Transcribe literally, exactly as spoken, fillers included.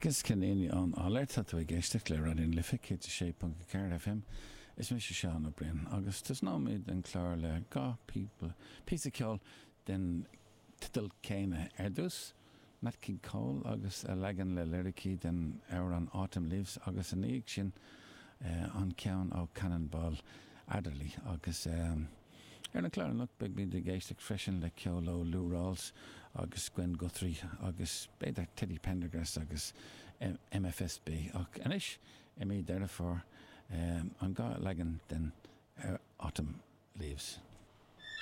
Agus cinnéine an áir tá tú ag éisteacht le Raidió na Life céad a sé ponc ceathair FM is mise Seán Ó Briain agus tosnóimid an clár le dhá píosa ceoil den teideal céanna ar dtús. Nat King Cole agus a leagan le liricí den amhrán Autumn Leaves agus ina dhiaidh sin uh, an ceann ó Cannonball Adderley agus um, ar an chlár anocht beidh ag éisteacht freisin le ceol ó Lou Rawls agus Gwen Guthrie agus b'fhéidir Teddy Pendergrass agus MFSB ach anois i mí Deireadh Fómhair um, an dhá leagan den uh, Autumn Leaves.